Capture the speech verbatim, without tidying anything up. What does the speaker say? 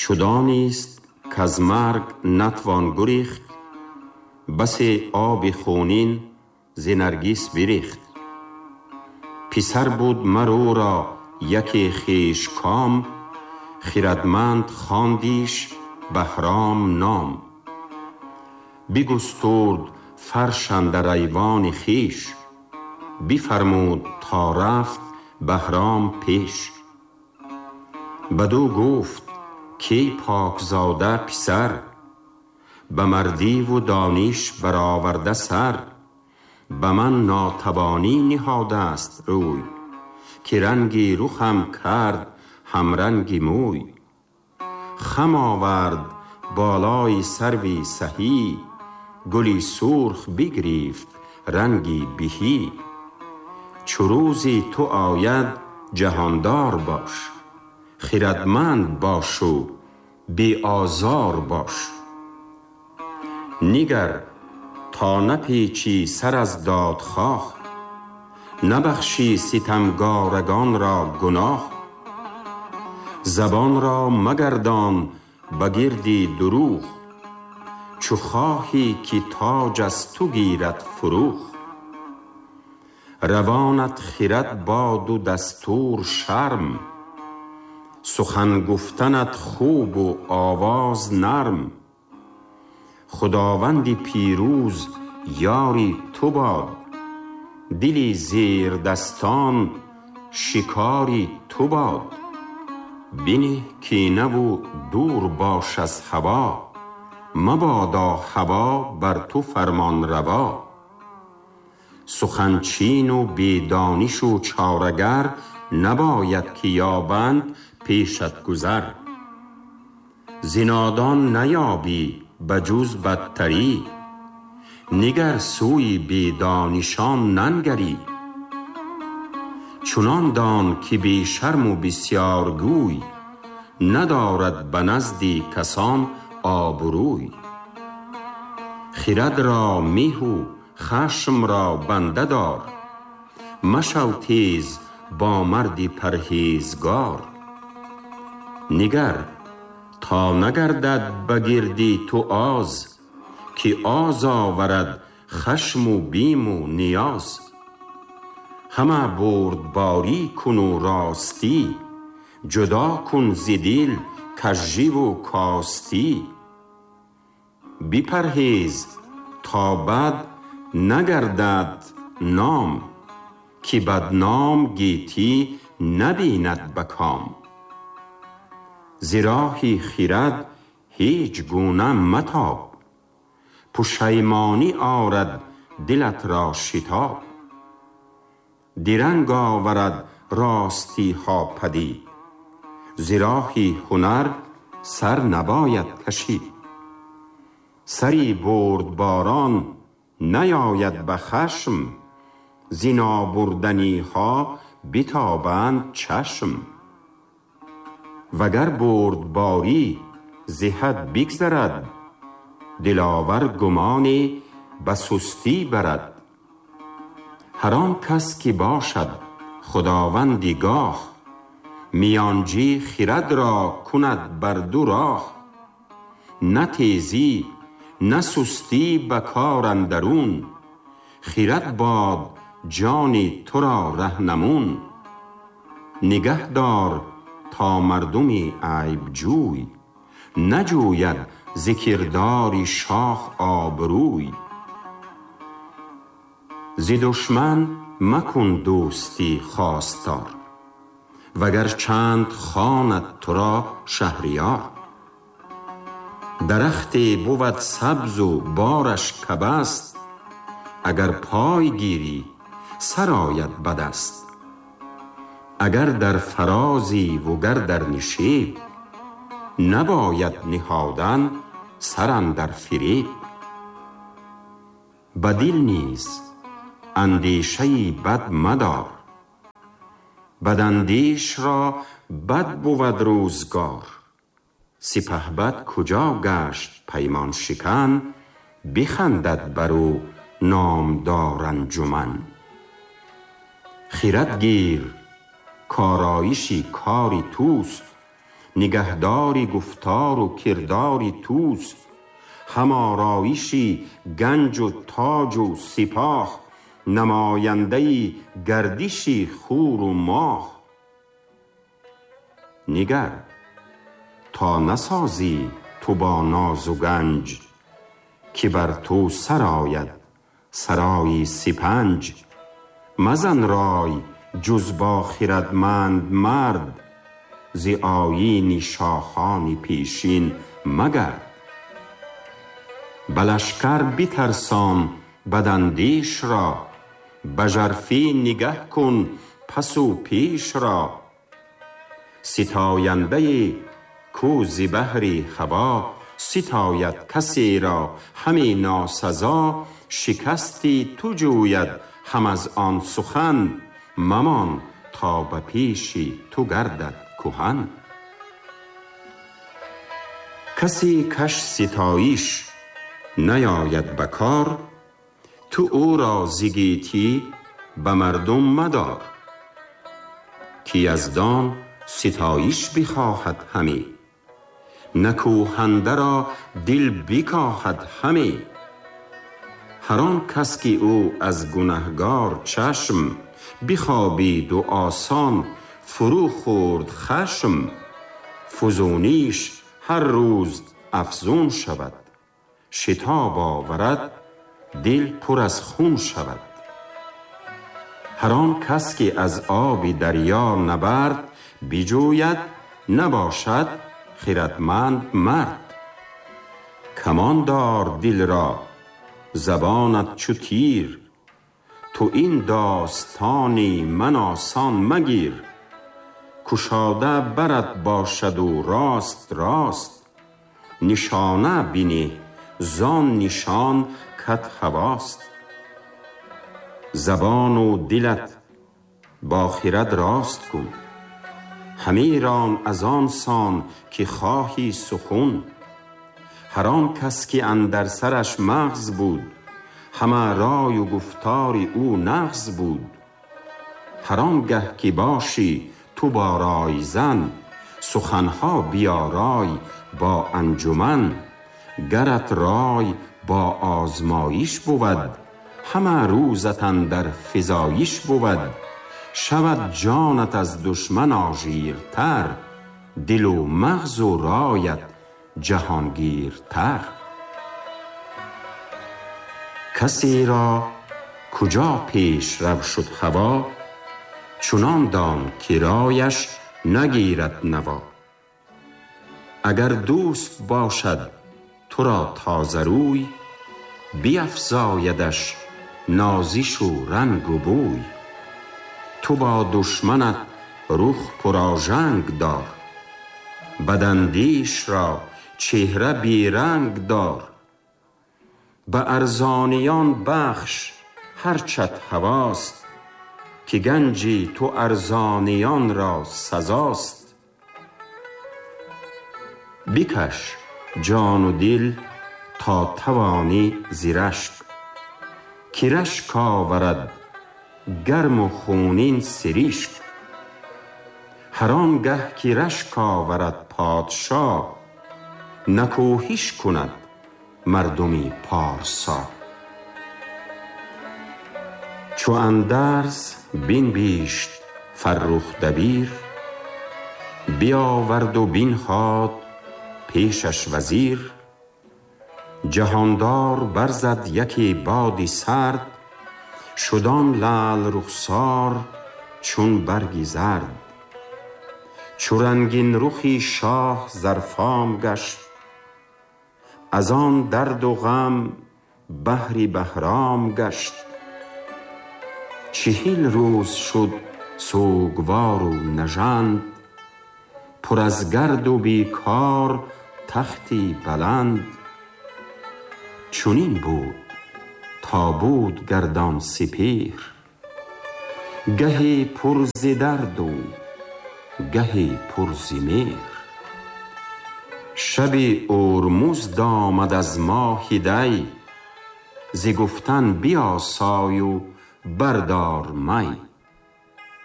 چو دانست کز مرگ نتوان گریخت، بسی آب خونین ز نرگس بریخت. پسر بود مر او را یکی خویش کام، خردمند خواندیش بهرام نام. بگسترد فرش اندر ایوان خویش، بفرمود تا رفت بهرام پیش. بدو گفت کای پاکزاده پسر، به مردی و دانش برآورده سر. به من ناتوانی نهاده است روی، که رنگ رخم کرد همرنگ موی. خم آورد بالای سروی سهی، گلی سرخ بگریفت رنگی بهی. چو روزی تو آید جهاندار باش، خردمند باش و بی آزار باش. نگر تا نپیچی سر از دادخواه، نبخشی ستمگارگان را گناه. زبان را مگردان بگردی دروغ، چو خواهی که تاج از تو گیرد فروغ. روانت خرد باد و دستور شرم، سخن گفتنت خوب و آواز نرم. خداوند پیروز یاری تو باد، دل زیردستان شکاری تو باد. بنه کینه و دور باش از هوا، مبادا هوا بر تو فرمان روا. سخن چین و بی دانش و چاره گر، نباید که یابند پیشت گذر. ز نادان نیابی بجز بدتری، نگر سوی بی دانشان ننگری. چنان دان که بی شرم و بسیار گوی، ندارد به نزد کسان آبروی. خرد را مه و خشم را بنده دار، مشو تیز با مرد پرهیزگار. نگر تا نگردد بگردی تو آز، که آز آورد خشم و بیم و نیاز. همه بردباری کن و راستی، جدا کن ز دل کژی و کاستی. بپرهیز تا بد نگردد نام، که بدنام گیتی نبیند به کام. ز راه خرد هیچ گونه متاب، پشیمانی آرد دلت را شتاب. درنگ آورد راستی ها پدید، ز راه هنر سر نباید کشید. سری بردباران نیاید به خشم، ز نابردنی ها بتابند چشم. وگر بردباری ز حد بگذرد، دلاور گمانی به سستی برد. هر آن کس که باشد خداوندی گاه، میانجی خرد را کند بر دو راه. نه تیزی نه سستی به کار اندرون، خرد باد جان تو را رهنمون. نگه دار تا مردم عیب جوی، نجوید ز کردار شاه آبروی. ز دشمن مکن دوستی خواستار، وگر چند خواند تو را شهریار. درختی بود سبز و بارش کبست، اگر پای گیری سر آید به دست. اگر در فرازی و گر در نشیب، نباید نهادن سر اندر فریب. به دل نیز اندیشه بد مدار، بداندیش را بد بود روزگار. سپهبد کجا گشت پیمان شکن، بخندد بر او نامدار انجمن. خرد گیر کآرایش کار توست، نگهداری گفتار و کرداری توست. هم آرایشی گنج و تاج و سپاه، نماینده گردشی خور و ماه. نگر تا نسازی تو با ناز و گنج، که بر تو سرآید سرایی سپنج. مزن رای جز با خردمند مرد، ز آیین شاهان پیشین مگرد. به لشکر بترسان بداندیش را، به ژرفی نگه کن پس و پیش را. ستاینده کو ز بهر هوا، ستاید کسی را همی ناسزا. شکستی تو جوید هم از آن سخن، ممان تا به پیش تو گردد کهن. کسی کش ستایش نیاید به کار، تو او را ز گیتی به مردم مدار. که یزدان ستایش بخواهد همی، نکوهنده را دل بکاهد همی. هر آن کس که او از گنهگار چشم، بخوابید و آسان فرو خورد خشم. فزونیش هر روز افزون شود، شتاب آورد دل پر از خون شود. هر آن کس که از آب دریا نبرد بجوید، نباشد خردمند مرد. کمان دار دل را زبانت چو تیر، تو این داستانی من آسان مگیر. کشاده برت باشد و راست راست، نشانه بینه زان نشان کت هواست. زبان و دلت با خرد راست کن، همی ران از آن سان که خواهی سخن. هر آن کس که اندر سرش مغز بود، همه رای و گفتار او نغز بود. هر آنگه که باشی تو با رای زن، سخنها بیارای با انجمن. گرت رای با آزمایش بود، همه روزت اندر فزایش بود. شود جانت از دشمن آژیرتر، دل و مغز و رایت جهانگیرتر. کسی را کجا پیش رو شد هوا، چنان دان که رایش نگیرد نوا. اگر دوست باشد تو را تازه روی، بیفزایدش نازش و رنگ و بوی. تو با دشمنت رخ پرآژنگ دار، بداندیش را چهره بی رنگ دار. به ارزانیان بخش هرچت هواست، که گنجی تو ارزانیان را سزاست. بکش جان و دل تا توانی ز رشک، که رشک آورد گرم و خونین سریشک. هر آنگه که رشک آورد پادشا، نکوهش کند مردمی پارسا. چو اندرز بنبیشت فرخ دبیر، بیاورد و بنهاد پیشش وزیر. جهاندار برزد یکی بادی سرد، شد آن لعل رخسار چون برگی زرد. چو رنگین رخی شاه زرفام گشت، از آن درد و غم بحری بهرام گشت. چهل روز شد سوگوار و نژند، پر از گرد و بیکار تختی بلند. چنین بود تا بود گردان سپهر، گهی پر ز درد و گهی پر ز مهر. شبی اورمزد آمد از ماه دی، ز گفتن بیاسای و بردار می.